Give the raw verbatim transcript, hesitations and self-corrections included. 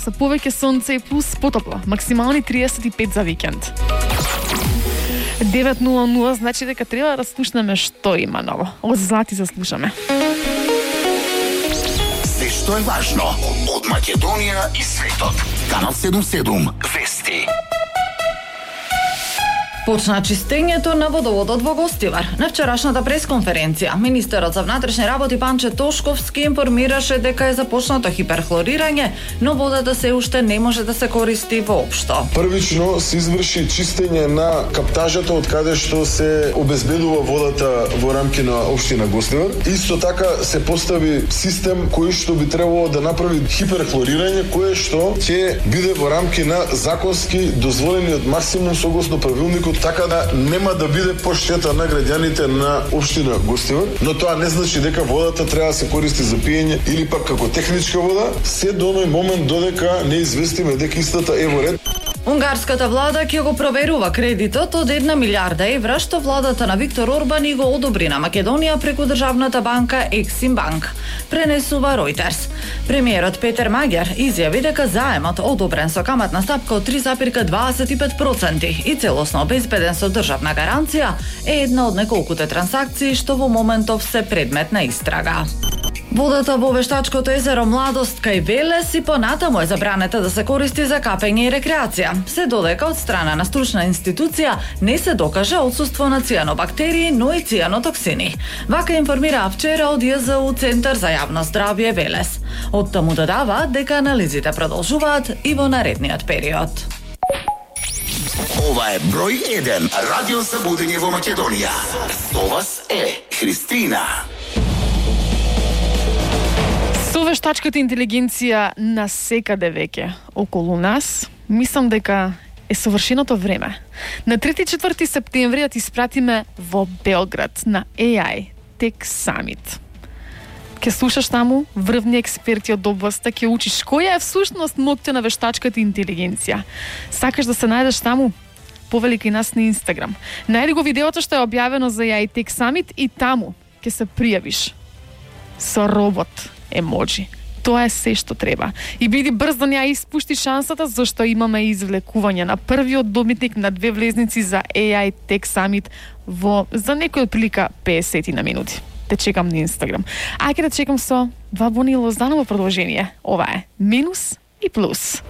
Со повеќе сонце и плюс потопло, максимални триесет и пет за викенд. девет нула нула значи дека треба да слушнеме што има ново. Од Злати заслушаме. Се што е важно од Македонија и светот. Канал седумдесет и седум Вести. Почна чистењето на водоводот во Гостивар. На вчерашната пресконференција, министерот за внатрешни работи Панче Тошковски информираше дека е започнато хиперхлорирање, но водата се уште не може да се користи воопшто. Првично се изврши чистење на каптажата од каде што се обезбедува водата во рамки на општина Гостивар. Исто така се постави систем кој што би требало да направи хиперхлорирање, кое што ќе биде во рамки на законски дозволениот максимум согласно правилникот, така да нема да биде поштета на граѓаните на општина Гостивар, но тоа не значи дека водата треба да се користи за пиење или пак како техничка вода, се до оној момент додека не известиме дека истата е во ред. Унгарската влада ќе го проверува кредитот од една милиарда евра што владата на Виктор Орбан и го одобри на Македонија преку државната банка Ексим Банк, пренесува Reuters. Премиерот Петер Маѓар изјави дека заемот одобрен со каматна стапка од три зарез дваесет и пет проценти и целосно обезбеден со државна гаранција е една од неколкуте трансакции што во моментов се предмет на истрага. Водата во вештачкото езеро Младост кај Велес и понатаму е забранета да се користи за капење и рекреација, се додека од страна на стручна институција не се докаже отсуство на цијанобактерии, но и цијанотоксини. Вака информира вчера од Ја З У Центар за јавно здравје Велес. Од таму додава дека анализите продолжуваат и во наредниот период. Ова е број еден радио за будење во Македонија. Со вас е Христина. Со вештачката интелигенција на секаде веќе околу нас, мислам дека е совршеното време. На трети и четврти септември да ти испратиме во Белград на Ей Ај Tech Summit. Ке слушаш таму врвни експерти од областа, ке учиш која е всушност моќта на вештачката интелигенција. Сакаш да се најдеш таму? Повели кај нас на Инстаграм. Најди го видеото што е објавено за Ей Ај Tech Summit и таму ке се пријавиш со робот емоджи. Тоа е се што треба. И биди брз да не ја испушти шансата, зашто имаме извлекување на првиот добитник на две влезници за Ей Ај Tech Summit во за некој прилика песет на минути. Те чекам на Инстаграм. Ајде да чекам со два бони Лозданово продолжение. Ова е Минус и Плюс.